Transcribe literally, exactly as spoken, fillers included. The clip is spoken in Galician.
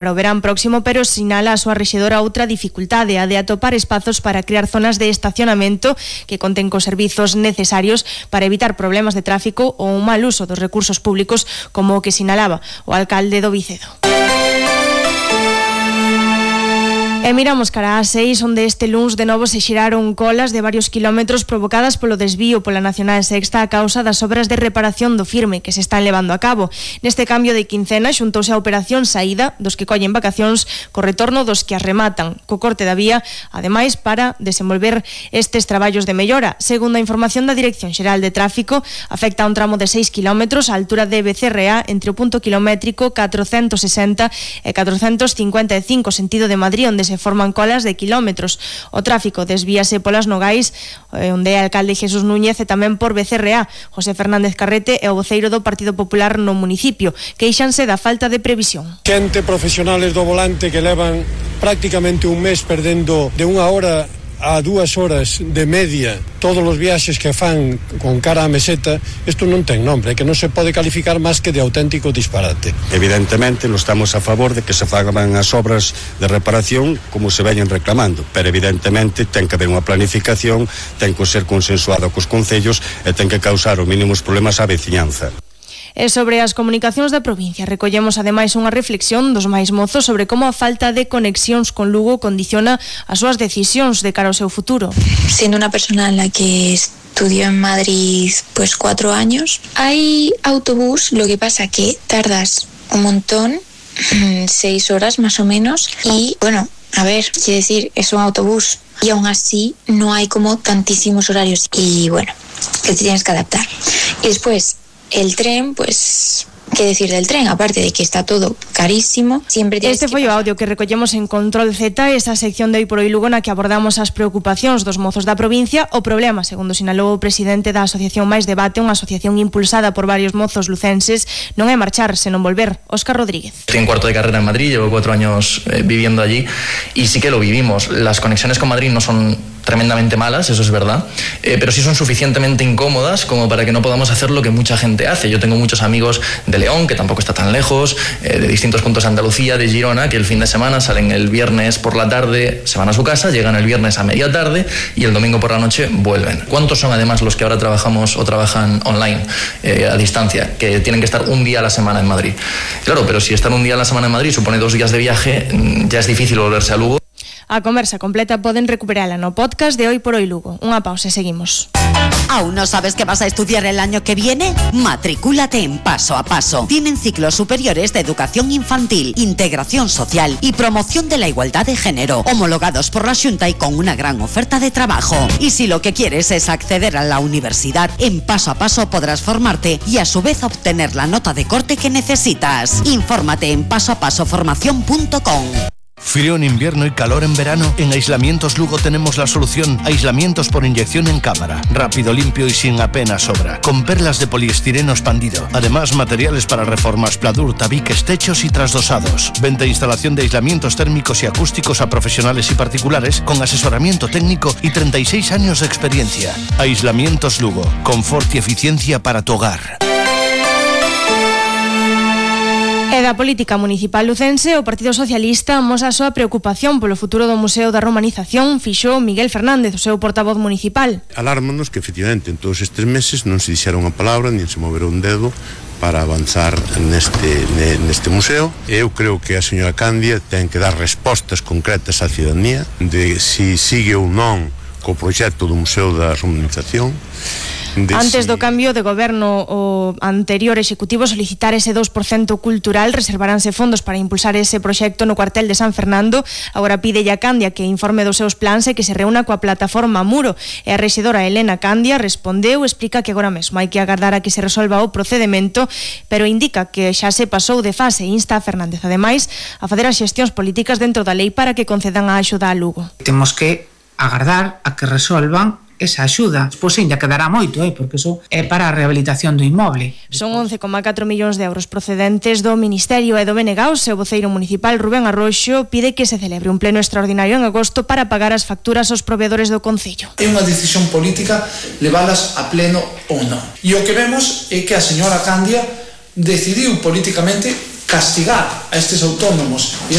para o verán próximo, pero sinala a súa rexedora outra dificultade, a de atopar espazos para crear zonas de estacionamento que conten cos servizos necesarios para evitar problemas de tráfico ou un mal uso dos recursos públicos, como o que sinalaba o alcalde do Vicedo. E miramos cara ás seis, onde este luns de novo se xeraron colas de varios kilómetros provocadas polo desvío pola Nacional Sexta a causa das obras de reparación do firme que se están levando a cabo. Neste cambio de quincena xuntouse a operación saída dos que collen vacacións co retorno dos que as rematan, co corte da vía, ademais para desenvolver estes traballos de mellora. Segundo a información da Dirección Xeral de Tráfico, afecta a un tramo de seis kilómetros á altura de Becerrea entre o punto kilométrico catrocentos sesenta e catrocentos cincuenta e cinco sentido de Madrid, onde se forman colas de kilómetros. O tráfico desvíase polas Nogais, onde é alcalde Jesús Núñez, e tamén por Becerrea. José Fernández Carrete é o voceiro do Partido Popular no municipio. Queixanse da falta de previsión. Xente profesionales do volante que levan prácticamente un mes perdendo de unha hora a dúas horas de media todos os viaxes que fan con cara a meseta. Isto non ten nombre, que non se pode calificar máis que de auténtico disparate. Evidentemente non estamos a favor de que se fagan as obras de reparación como se veñen reclamando, pero evidentemente ten que haber unha planificación, ten que ser consensuado cos concellos e ten que causar os mínimos problemas á veciñanza. E sobre as comunicacións da provincia recollemos ademais unha reflexión dos máis mozos sobre como a falta de conexións con Lugo condiciona as súas decisións de cara ao seu futuro. Siendo una persona en la que estudió en Madrid pues cuatro años, hay autobús, lo que pasa que tardas un montón, seis horas más o menos, y bueno, a ver, quiero decir, es un autobús y aún así no hay como tantísimos horarios y bueno, que te tienes que adaptar. Y después el tren, pues, ¿qué decir del tren? Aparte de que está todo carísimo, siempre tienes Este foi o audio que recollemos en Control Z, esa sección de Hoy por Hoy Lugo na que abordamos as preocupacións dos mozos da provincia. O problema, segundo sinalou o presidente da Asociación Mais Debate, unha asociación impulsada por varios mozos lucenses, non é marchar, senón volver. Óscar Rodríguez. Estoy en cuarto de carrera en Madrid, llevo cuatro años eh, viviendo allí y sí que lo vivimos. Las conexiones con Madrid no son tremendamente malas, eso es verdad, eh, pero sí son suficientemente incómodas como para que no podamos hacer lo que mucha gente hace. Yo tengo muchos amigos de León, que tampoco está tan lejos, eh, de distintos puntos de Andalucía, de Girona, que el fin de semana salen el viernes por la tarde, se van a su casa, llegan el viernes a media tarde y el domingo por la noche vuelven. ¿Cuántos son además los que ahora trabajamos o trabajan online, eh, a distancia, que tienen que estar un día a la semana en Madrid? Claro, pero si estar un día a la semana en Madrid supone dos días de viaje, ya es difícil volverse a Lugo. A conversa completa poden recuperala no podcast de Hoy por Hoy Lugo. Unha pausa e seguimos. ¿Aún no sabes qué vas a estudiar el año que viene? Matricúlate en Paso a Paso. Tienen ciclos superiores de educación infantil, integración social y promoción de la igualdad de género, homologados por la Xunta y con una gran oferta de trabajo. Y si lo que quieres es acceder a la universidad, en Paso a Paso podrás formarte y a su vez obtener la nota de corte que necesitas. Infórmate en paso a paso formación punto com. Frío en invierno y calor en verano. En Aislamientos Lugo tenemos la solución. Aislamientos por inyección en cámara. Rápido, limpio y sin apenas sobra. Con perlas de poliestireno expandido. Además, materiales para reformas, pladur, tabiques, techos y trasdosados. Venta e instalación de aislamientos térmicos y acústicos a profesionales y particulares con asesoramiento técnico y treinta y seis años de experiencia. Aislamientos Lugo. Confort y eficiencia para tu hogar. E da política municipal lucense, o Partido Socialista amosa a súa preocupación polo futuro do Museo da Romanización. Fixo Miguel Fernández, o seu portavoz municipal. Alármanos que efectivamente en todos estes meses non se dixera unha palabra, nin se movera un dedo para avanzar neste, neste museo. Eu creo que a señora Candia ten que dar respostas concretas á ciudadanía de si sigue ou non co proxecto do Museo da Romanización. Antes do cambio de goberno, o anterior executivo solicitar ese dous por cento cultural, reservaránse fondos para impulsar ese proxecto no cuartel de San Fernando. Agora pide a Candia que informe dos seus plans e que se reúna coa plataforma Muro. E a rexedora Elena Candia respondeu, explica que agora mesmo hai que agardar a que se resolva o procedemento, pero indica que xa se pasou de fase e insta a Fernández, ademais, a facer as xestións políticas dentro da lei para que concedan a axuda a Lugo. Temos que agardar a que resolvan esa axuda. Pois ainda quedará moito, eh, porque iso é para a rehabilitación do inmoble. Son once coma catro millóns de euros procedentes do Ministerio e do B N G A. O seu voceiro municipal, Rubén Arroxo, pide que se celebre un pleno extraordinario en agosto para pagar as facturas aos proveedores do concello. É unha decisión política levalas a pleno ou non. E o que vemos é que a señora Candia decidiu políticamente castigar a estes autónomos e